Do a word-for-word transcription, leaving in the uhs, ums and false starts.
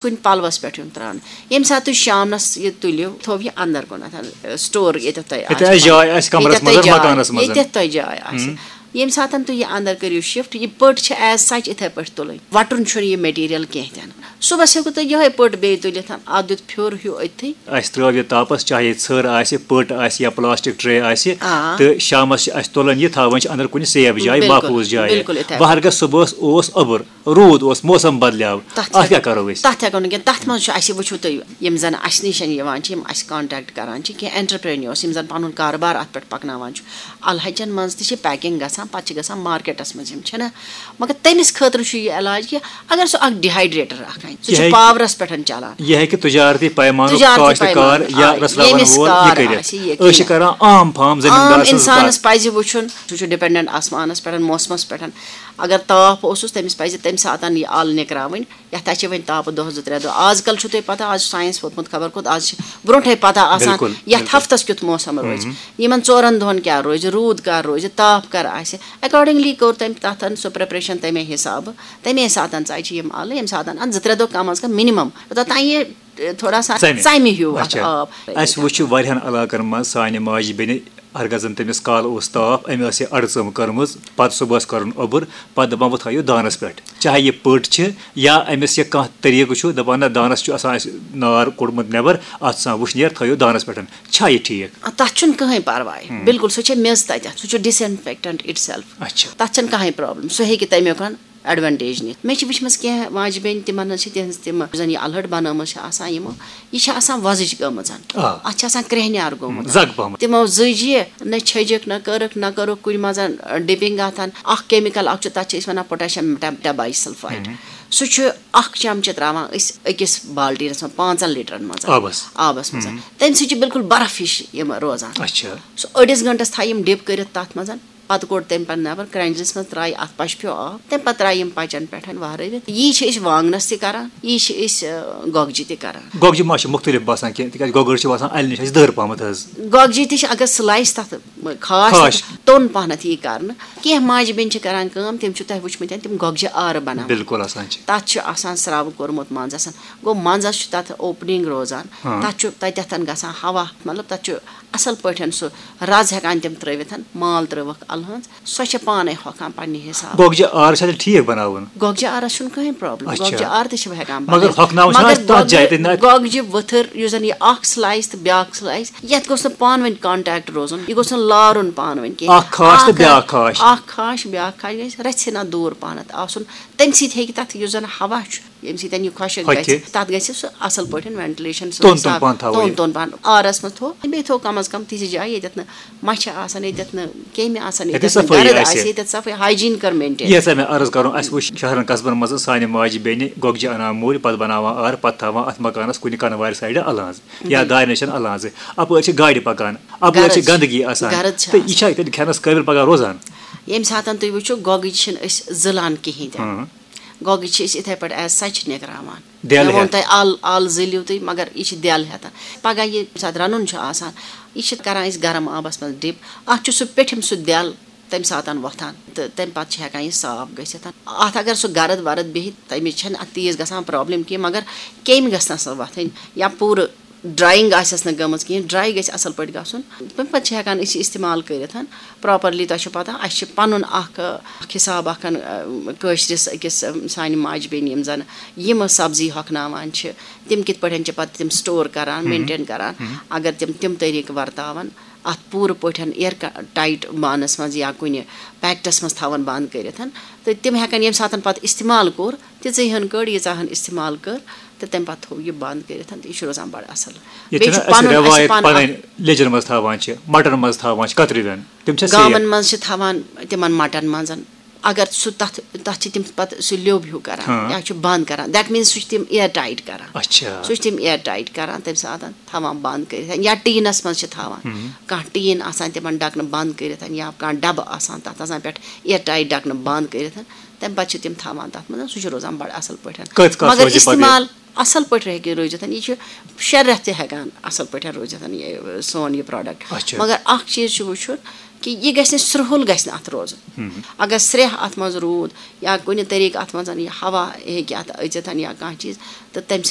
کُنہِ پلوَس پٮ۪ٹھ یُن ترٛاونہٕ۔ ییٚمہِ ساتہٕ تُہۍ شامنَس یہِ تُلِو، تھٲوِو یہِ اَندَر کُنَتھ، سٹور ییٚتٮ۪تھ تۄہہِ آسہِ۔ ییٚتہِ آسہِ جاے آسہِ کَمرَس ییٚتٮ۪تھ تۄہہِ منٛز، جاے، مکانَس منٛز۔ ییٚتٮ۪تھ تۄہہِ جاے آسہِ۔ ییٚمہِ ساتَن تُہۍ یہِ اَندَر کٔرِو شِفٹ، یہِ پٔٹ چھِ as such یِتھَے پٲٹھۍ تُلٕنۍ۔ وَٹُن چھُنہٕ یہِ مٹیٖریَل کینٛہہ تہِ نہٕ۔ صُبحَس ہیٚکِو تُہۍ یِہوٚے پٔٹ بیٚیہِ تُلِتھ، اَتھ دیُت پھیُر ہیوٗ أتھی۔ اَسہِ ترٛٲو یہِ تاپَس، چاہے ژھٔر آسہِ، پٔٹ آسہِ یا پلاسٹک ٹرے آسہِ، آ۔ تہٕ شامَس چھِ اَسہِ تُلان یہِ، تھاوان چھِ اَندَر کُنہِ سیف جایہِ، بِلکُل، محفوٗظ جایہِ۔ بِلکُل یِتھَے پٲٹھۍ۔ وہرگَس صُبحَس اوس اوٚبُر، روٗد اوس، موسم بدلیو، تَتھ اَتھ کیٛاہ کیٛاہ کَرو أسۍ؟ تَتھ ہٮ۪کو نہٕ کینٛہہ۔ تَتھ منٛز چھُ اَسہِ، وٕچھِو تُہۍ، یِم زَن اَسہِ نِش یِوان چھِ، یِم اَسہِ کانٹیکٹ کَران چھِ، کینٛہہ اینٹرپرینیورس، یِم زَن پَنُن کارٕبار اَتھ پٮ۪ٹھ پَکناوان چھُ، اَلہٕ ہَچَن منٛز تہِ چھِ پیکِنٛگ گژھان، پَتہٕ چھِ گژھان مارکیٹَس منٛز، یِم چھِنہ۔ مگر تٔمِس خٲطرٕ چھُ یہِ علاج کہِ اگر سُہ اَکھ ڈِہایڈریٹر اَکھ اَنہِ، سُہ یہِ چھُ ہیٚکہِ پاورَس پٮ۪ٹھ چَلان۔ یہِ ہیٚکہِ تجارتی پیمانُک تجارتی کاشتکار پیمانُک، یا آ، رَسلاوَن ییٚمِس وول کار یہِ کٔرِتھ۔ آسہِ، یہِ أسۍ چھِ یقیٖناً۔ کَران عام فارم عام زٔمیٖندار سٕنٛز اِنسانَس کَتھ۔ پَزِ وٕچھُن، سُہ چھُ ڈِپٮ۪نڈَنٛٹ آسمانَس پٮ۪ٹھ، موسمَس پٮ۪ٹھ۔ اگر تاپھ اوسُس، تٔمِس پَزِ تَمہِ ساتَن یہِ اَل نِکراوٕنۍ۔ یَتھ اَسہِ چھِ وۄنۍ تاپہٕ دۄہ زٕ ترٛےٚ دۄہ۔ آز کَل چھُو تۄہہِ پَتہ، آز چھُ ساینَس ووتمُت خبر کوٚت، آز چھِ برونٛٹھَے پَتہ آسان بِلکُل، یَتھ بِلکُل۔ ہفتَس کیُتھ موسم روزِ، یِمَن ژورَن دۄہَن کیٛاہ روزِ، روٗد کَر روزِ، تاپھ کَر آسہِ۔ اٮ۪کاڈِنٛگلی کوٚر تٔمۍ تَتھ سُہ پرٛٮ۪پریشَن تَمے حِسابہٕ۔ تَمے ساتَن ژَجہِ یِم اَلہٕ، ییٚمہِ ساتَن اَتھ زٕ ترٛےٚ دۄہ کَم از کَم مِنِمَم، یوٚتام یہِ، اے، تھوڑا سا ژَمہِ۔ ژَمہِ ہیوٗ اَتھ اچھا۔ آب۔ اَسہِ وٕچھ واریاہَن علاقَن منٛز سانہِ ماجہِ بیٚنہِ، ہرگاہ زَن تٔمِس کالہٕ اوس تاپھ، أمۍ ٲس یہِ اَڑٕ ژٲم کٔرمٕژ، پَتہٕ صُبحَس کٔرٕن اوٚبُر، پَتہٕ دَپان، وۄنۍ تھٲیِو دانَس پٮ۪ٹھ۔ چاہے یہِ پٔٹ چھِ یا أمِس یہِ کانٛہہ طریٖقہٕ چھُ، دَپان، نہ، دانَس چھُ آسان اَسہِ نار کوٚڑمُت نٮ۪بَر، اَتھ چھُ آسان وٕشنیر، تھٲیِو دانَس پٮ۪ٹھ۔ چھا یہِ ٹھیٖک؟ آ، تَتھ چھُنہٕ کٕہٕنۍ پَرواے۔ بِلکُل، سُہ چھےٚ میٚژ تَتٮ۪تھ، سُہ چھُ disinfectant itself۔ اچھا۔ تَتھ چھَنہٕ کٕہٕنۍ پرابلم، سُہ ہیٚکہِ تَمیُک ایڈوانٹیج نِتھ۔ مےٚ چھِ وٕچھمٕژ کینٛہہ ماجہِ بیٚنہِ، تِمَن حظ چھِ تِہٕنٛز تِم، یُس زَن یہِ اَلہٕ ہَٹھ بَنٲومٕژ چھِ آسان یِمو، یہِ چھِ آسان وۄزٕج گٔمٕژ۔ آ۔ اَتھ چھِ آسان کرٛیٚہنیار گوٚمُت۔ زَگ پَہمَتھ۔ تِمو زٔج یہِ، نہ چھٔجِکھ، نہ کٔرٕکھ، نہ کٔرٕکھ کُنہِ منٛز ڈِپِنٛگ اَتھ۔ اَکھ کیمِکل اَکھ چھُ، تَتھ چھِ أسۍ وَنان potassium meta-، metabisulfite۔ سُہ چھُ اَکھ چمچہٕ ترٛاوان أسۍ أکِس بالٹیٖنَس منٛز پانٛژَن لیٖٹرَن منٛز۔ آبَس۔ آبَس منٛز۔ تَمہِ سۭتۍ چھِ بِلکُل برف ہِش یِم روزان۔ اچھا۔ سُہ أڑِس گھنٹَس تھایہِ یِم ڈِپ کٔرِتھ تَتھ منٛز۔ پَتہٕ کوٚڑ تَمہِ پَتہٕ نٮ۪بَر، کرٛینٛجلِس منٛز ترٛایہِ اَتھ پَشپھیو آب، تَمہِ پَتہٕ ترٛایہِ یِم پَچَن پٮ۪ٹھ وَہرٲوِتھ۔ یی چھِ أسۍ وانٛگنَس تہِ کَران، یی چھِ أسۍ، آ، گۄگجہِ تہِ کَران۔ گۄگجہِ ما چھِ مُختٔلِف باسان کینٛہہ؟ تِکیٛازِ گۄگٕر چھِ باسان اَلہِ نِش اَسہِ دٔر پَہمَتھ حظ۔ گۄگجہِ تہِ چھِ، اگر سٕلایِس تَتھ خاص خاص۔ تَتھ توٚن پَہمَتھ یی کَرنہٕ۔ کینٛہہ ماجہِ بیٚنہِ چھِ کَران کٲم، تِم چھِ تۄہہِ وٕچھمٕتۍ، تِم گۄگجہِ آرٕ بَناوان۔ بِلکُل آسان چھِ۔ تَتھ چھُ آسان سرٛاوٕ کوٚرمُت منٛزَس، گوٚو منٛزَس چھُ تَتھ اوپنِنٛگ روزان، ہاں۔ تَتھ چھُ تَتٮ۪تھ گژھان ہوا، مطلب، تَتھ چھُ اَصٕل پٲٹھۍ سُہ رَز ہٮ۪کان تِم ترٛٲوِتھ، مال ترٛٲوٕکھ اَلہٕ ہٕنٛز، سۄ چھےٚ پانَے ہۄکھان پنٛنہِ حِسابہٕ۔ گۄگجہِ آر چھا تیٚلہِ ٹھیٖک بَناوُن؟ گۄگجہِ آرَس چھُنہٕ کٕہٕنۍ پرابلم، اچھا۔ گۄگجہِ آر تہِ چھِ ہٮ۪کان مگر بَنٲوِتھ۔ ہۄکھناوُن چھُنہ مگر اَسہِ تَتھ جایہِ گۄگجہِ، تہِ نہ؟ گۄگجہِ ؤتھٕر، یُس زَن یہِ اَکھ سٕلایِس تہٕ بیٛاکھ سٕلایِس، یَتھ گوٚژھ نہٕ پانہٕ ؤنۍ کانٹیکٹ روزُن، یہِ گوٚژھ نہٕ لارُن پانہٕ ؤنۍ کینٛہہ۔ اَکھ خاش تہٕ اَکھ بیٛاکھ خاش۔ اَکھ خاش، بیٛاکھ خاش گژھِ رَژھِ ہنا دوٗر پَہنَتھ آسُن، تَمہِ سۭتۍ ہیٚکہِ تَتھ یُس زَن ہوا چھُ، ییٚمہِ سۭتۍ یہِ خۄشک ہۄکھِ۔ گژھِ، تَتھ گژھِ سُہ اَصٕل پٲٹھۍ وینٹِلیشن، سُہ توٚن توٚن حِساب، پَہن تھاوُن۔ توٚن توٚن پَہن۔ آرَس منٛز تھوٚو، بیٚیہِ تھوٚو کَم از کَم تِژھِ جایہِ، ییٚتٮ۪تھ نہٕ مَچھِ آسَن، ییٚتٮ۪تھ نہٕ کیٚمۍ آسَن، ییٚتٮ۪تھ ییٚتٮ۪تھ نہٕ صفٲیی گرد آسہِ۔ آسہِ، ییٚتٮ۪تھ صفٲیی، ہایجیٖن کَر مینٹین۔ یہِ ہسا مےٚ عرض کَرُن، اَسہِ وٕچھ شہرَن قصبَن منٛز سانہِ ماجہِ بیٚنہِ گۄگجہِ اَنان مٔلۍ، پَتہٕ بَناوان آر، پَتہٕ تھاوان اَتھ مکانَس کُنہِ کَنہٕ وارِ سایڈٕ اَلہٕ ہٕنٛز یا دارِ نِش اَلہٕ ہٕنٛزٕ۔ اَپٲرۍ چھِ گاڑِ پَکان، اَپٲرۍ چھِ گرٕد، گنٛدگی آسان۔ گرٕد چھِ تہٕ یہِ آسان۔ چھا تیٚلہِ کھٮ۪نَس قٲبِل پَگاہ روزان؟ ییٚمہِ ساتَن تُہۍ وٕچھِو، گۄگٕج چھِنہٕ أسۍ زٕلان کِہیٖنۍ تہِ نہٕ۔ ہاں۔ گۄگٕج چھِ أسۍ یِتھَے پٲٹھۍ as such نِکراوان۔ دٮ۪ل مےٚ ووٚن ہٮ۪تھ۔ تۄہہِ اَل، اَل زٕلِو تُہۍ، مگر یہِ چھِ دٮ۪ل ہٮ۪تھ۔ پَگاہ ییٚمہِ ساتہٕ رَنُن چھُ آسان، یہِ چھِ کَران أسۍ گرم آبَس منٛز dip۔ اَتھ چھُ سُہ پیٚٹھِم سُہ دٮ۪ل تَمہِ ساتَن وۄتھان تہٕ تَمہِ پَتہٕ چھِ ہٮ۪کان یہِ صاف گٔژھِتھ۔ اَتھ اگر سُہ گرد ورد بیٚہہِ، تَمِچ چھَنہٕ اَتھ تیٖژ گژھان پرابلم کینٛہہ، مگر کیٚمۍ گژھِ نہٕ سۄ وۄتھٕنۍ یا پوٗرٕ drying آسٮ۪س نہٕ گٔمٕژ کِہیٖنۍ، dry گژھِ اَصٕل پٲٹھۍ گژھُن۔ تَمہِ پَتہٕ چھِ ہٮ۪کان أسۍ یہِ استعمال کٔرِتھ۔ Properly، تۄہہِ چھو پَتہ، اَسہِ چھِ پَنُن اَکھ، اَکھ حِساب اَکھ، کٲشرِس أکِس، سانہِ ماجہِ بیٚنہِ یِم زَن یِم سبزی ہۄکھناوان چھِ، تِم کِتھ پٲٹھۍ چھِ پَتہٕ تِم store کَران، مینٹین کَران۔ اگر تِم تِم طریٖقہٕ وَرتاوَن، اَتھ پوٗرٕ پٲٹھۍ air tight بانَس منٛز یا کُنہِ پیکٹَس منٛز تھاوَن بنٛد کٔرِتھ، تہٕ تِم ہٮ۪کَن ییٚمہِ ساتَن پَتہٕ استعمال کوٚر، تِژٕے ہن کٔڑ، ییٖژاہ ہن استعمال کٔر، تہٕ تَمہِ پَتہٕ تھوٚو یہِ بنٛد کٔرِتھ، تہٕ یہِ چھُ روزان بَڑٕ اَصٕل۔ ییٚتہِ بیٚیہِ چھُ چھُنہ أسۍ پَنُن، اَسہِ چھُ رٮ۪وایت پَنُن پَنٕنۍ اَکھ لیٚجَن منٛز تھاوان چھِ، مَٹَن منٛز تھاوان چھِ، کَترِوٮ۪ن، تِم چھِ safe؟ گامَن منٛز چھِ تھاوان تِمَن مَٹَن منٛز، اگر سُہ تَتھ، تَتھ چھِ تِم پَتہٕ سُہ لیوٚب ہیوٗ کَران ہاں۔ یا چھُ بنٛد کَران، that means سُہ چھُ تِم air tight کَران۔ اچھا۔ سُہ چھُ تِم air tight کَران تَمہِ ساتَن۔ تھاوان بنٛد کٔرِتھ یا ٹیٖنَس منٛز چھِ تھاوان۔ کانٛہہ ٹیٖن آسان تِمَن ڈَکنہٕ بنٛد کٔرِتھ یا کانٛہہ ڈَبہٕ آسان تَتھ آسان پٮ۪ٹھ air tight ڈَکنہٕ بنٛد کٔرِتھ، تَمہِ پَتہٕ چھِ تِم تھاوان تَتھ منٛز، سُہ چھُ روزان بَڑٕ اَصٕل پٲٹھۍ۔ کۭتِس کالَس مگر روزِ یہِ پَتہٕ یہِ؟ استعمال اَصٕل پٲٹھۍ ہیٚکہِ روٗزِتھ، یہِ چھُ شےٚ رٮ۪تھ تہِ ہٮ۪کان اَصٕل پٲٹھۍ روٗزِتھ یہِ سون یہِ product۔ اچھا۔ مگر اَکھ چیٖز چھُ وٕچھُن، کہِ یہِ گژھِ نہٕ سرٛہُل، گژھِ نہٕ اَتھ روزُن۔ اگر سرٛیٚہہ اَتھ منٛز روٗد یا کُنہِ طریٖقہٕ اَتھ منٛز یہِ ہوا ہیٚکہِ اَتھ أژِتھ یا کانٛہہ چیٖز، تہٕ تَمہِ سۭتۍ